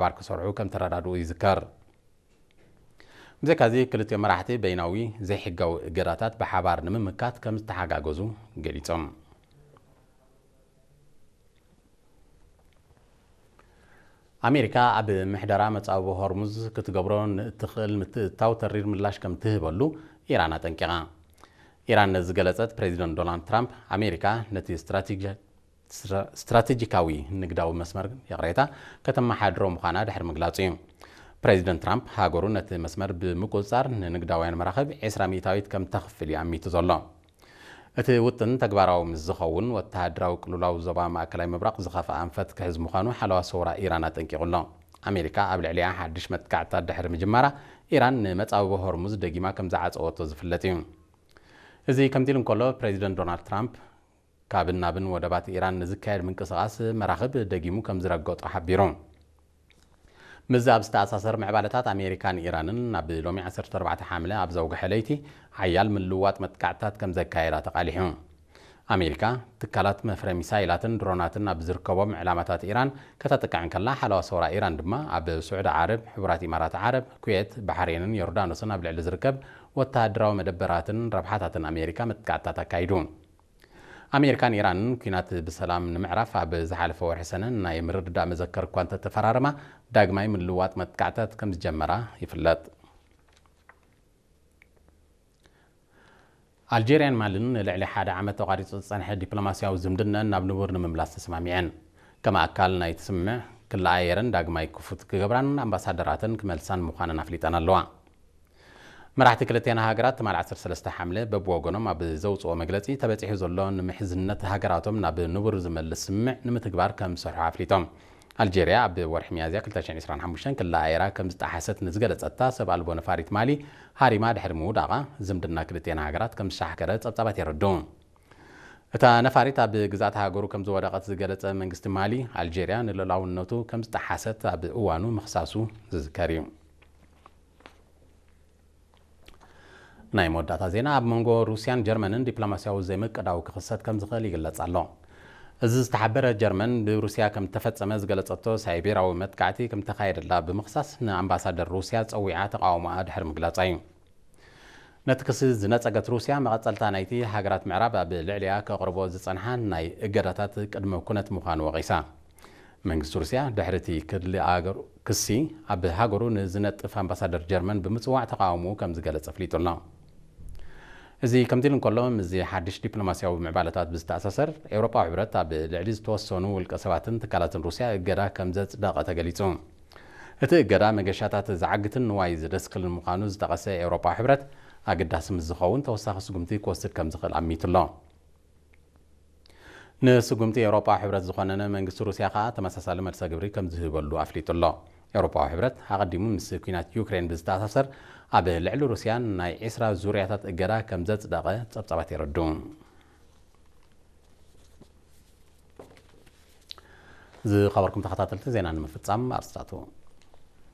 ብሓባር ክሰርሑ ከም ተረዳድኡ ይዝከር። ብዘይካዚ ክልቲኦም መራሕቲ በይናዊ ዘይሕጋዊ እገዳታት ብሓባር ንምምካት ከም ዝተሓጋገዙ ገሊጾም። ኣሜሪካ ኣብ ምሕደራ መጻብቦ ሆርሙዝ ክትገብሮ ንእትኽእል ምትእትታው ተሪር ምላሽ ከም ትህበሉ ኢራን ኣጠንቂቓ። ኢራን ነዚ ዝገለጸት ፕሬዚደንት ዶናልድ ትራምፕ ኣሜሪካ ነቲ ስትራቴጂ ስትራቴጂካዊ ንግዳዊ መስመር ይቕሬታ ከተመሓድሮ ምዃና ድሕሪ ምግላጹ እዩ። ፕሬዚደንት ትራምፕ ሃገሩ ነቲ መስመር ብምቁጽጻር ንንግዳውያን መራኽብ ዕስራ ሚእታዊት ከም ተኽፍል እዩ ኣሚቱ ዘሎ። እቲ ውጥን ተግባራዊ ምስ ዝኸውን ወተሃደራዊ ቅልውላው ዞባ ማእከላይ ምብራቕ ዝኸፍኣ ኣንፈት ክሕዝ ምዃኑ ሓለዋ ሰውራ ኢራን ኣጠንቂቑ ኣሎ። ኣሜሪካ ኣብ ልዕሊኣ ሓድሽ መጥቃዕትታት ድሕሪ ምጅማራ ኢራን ንመጻብቦ ሆርሙዝ ደጊማ ከም ዝዓጸወቶ ዝፍለጥ እዩ። እዚ ከምቲ ኢሉ እንከሎ ፕሬዚደንት ዶናልድ ትራምፕ ካብን ናብን ወደባት ኢራን ንዝካየድ ምንቅስቓስ መራኽብ ደጊሙ ከም ዝረገጦ ሓቢሩ። ምስዚ ኣብ ዝተኣሳሰር ምዕባለታት ኣሜሪካን ኢራንን ናብ ሎሚ ዓሰርተ ኣርባዕተ ሓምለ ኣብ ዘውግሐ ለይቲ ሓያል ምልውዋጥ መጥቃዕትታት ከም ዘካየዳ ተቓሊሑ። ኣሜሪካ ትካላት መፍረ ሚሳይላትን ድሮናትን ኣብ ዝርከቦም ዕላማታት ኢራን ከተጥቅዕ እንከላ ሓለዋ ሰውራ ኢራን ድማ ኣብ ስዑዲ ዓረብ፣ ሕቡራት ኢማራት ዓረብ፣ ኩዌት፣ ባሕሬንን ዮርዳኖስን ኣብ ልዕሊ ዝርከብ ወተሃደራዊ መደበራትን ረብሓታትን ኣሜሪካ መጥቃዕትታት ኣካይዱ። ኣሜሪካን ኢራንን ኲናት ብሰላም ንምዕራፍ ኣብ ዝሓለፈ ወርሒ ሰነ ናይ ምርድዳእ መዘከር እኳ እንተተፈራረማ ዳግማይ ምልውዋጥ መጥቃዕትታት ከም ዝጀመራ ይፍለጥ። ኣልጄርያን ማልን ንልዕሊ ሓደ ዓመት ተቋሪጹ ዝጸንሐ ዲፕሎማስያዊ ዝምድነን ናብ ንቡር ንምምላስ ተሰማሚዐን። ከም ኣካል ናይቲ ስምምዕ ክለኣየረን ዳግማይ ክፉት ክገብራን ኣምባሳደራተን ክመልሳን ምዃነን ኣፍሊጠን ኣለዋ። መራሕቲ ክልቲኣን ሃገራት ትማል ዓሰርተ ሰለስተ ሓምለ በብወገኖም ኣብ ዘውፅኦ መግለፂ ተበፂሑ ዘሎ ንምሕዝነት ሃገራቶም ናብ ንቡር ዝመልስ ስምምዕ ንምትግባር ከም ዝሰርሑ ኣፍሊጦም። ኣልጄርያ ኣብ ወርሒ ሚያዝያ ክልተ ሽሕን ዕስራን ሓሙሽተን ክለኣየራ ከም ዝጠሓሰት ንዝገለፀታ ሰብ ኣልቦ ነፋሪት ማሊ ሃሪማ ድሕሪ ምውዳቓ ዝምድና ክልቲኣን ሃገራት ከም ዝሻሕከረ ፀብፃባት የረድኡ። እታ ነፋሪት ኣብ ግዝኣት ሃገሩ ከም ዝወደቐት ዝገለጸ መንግስቲ ማሊ ኣልጄርያ ንልኡላውነቱ ከም ዝጠሓሰት ኣብ እዋኑ ምኽሳሱ ዝዝከር እዩ። ናይ መወዳእታ ዜና። ኣብ መንጎ ሩስያን ጀርመንን ዲፕሎማስያዊ ዘይምቅዳው ክኽሰት ከም ዝኽእል ይግለጽ ኣሎ። እዚ ዝተሓበረ ጀርመን ብሩስያ ከም ተፈጸመ ዝገለጸቶ ሳይቤራዊ መጥቃዕቲ ከም ተኻየደላ ብምኽሳስ ንኣምባሳደር ሩስያ ጸዊዓ ተቃውሞኣ ድሕሪ ምግላጻ እዩ። ነቲ ክሲ ዝነጸገት ሩስያ መቐጸልታ ናይቲ ሃገራት ምዕራብ ኣብ ልዕሊኣ ከቕርቦ ዝጸንሓ ናይ እገዳታት ቅድመ ኩነት ምዃኑ ወቒሳ። መንግስቲ ሩስያ ድሕሪ እቲ ክሊ ኣገሩ ክሲ ኣብ ሃገሩ ንዝነጥፍ ኣምባሳደር ጀርመን ብምጽዋዕ ተቃውሞኡ ከም ዝገለጸ ኣፍሊጡ ኣሎ። እዚ ከምዚ ኢሉ እንከሎ ምስዚ ሓድሽ ዲፕሎማስያዊ ምዕባለታት ብዝተኣሳሰር ኤውሮጳዊ ሕብረት ኣብ ልዕሊ ዝተወሰኑ ውልቀ ሰባትን ትካላትን ሩስያ እገዳ ከም ዘጽደቐ ተገሊጹ። እቲ እገዳ መገሻታት ዝዓግትን ንዋይ ዝደስክልን ምዃኑ ዝጠቐሰ ኤውሮጳዊ ሕብረት ኣገዳሲ ምስ ዝኸውን ተወሳኺ ስጉምቲ ክወስድ ከም ዝኽእል ኣሚቱ ኣሎ። ንስጉምቲ ኤውሮጳዊ ሕብረት ዝኾነነ መንግስቲ ሩስያ ከኣ ተመሳሳሊ መልሰ ግብሪ ከም ዝህበሉ ኣፍሊጡ ኣሎ። ኤውሮጳዊ ሕብረት ኣቐዲሙ ምስ ኲናት ዩክሬን ብዝተኣሳሰር ኣብ ልዕሊ ሩስያ ናይ ዕስራ ዙርያታት እገዳ ከም ዘጽደቐ ጸብጻባት የረድኡ። ዝኸበርኩም ተኸታተልቲ ዜና ንምፍጻም ኣርስታቱ።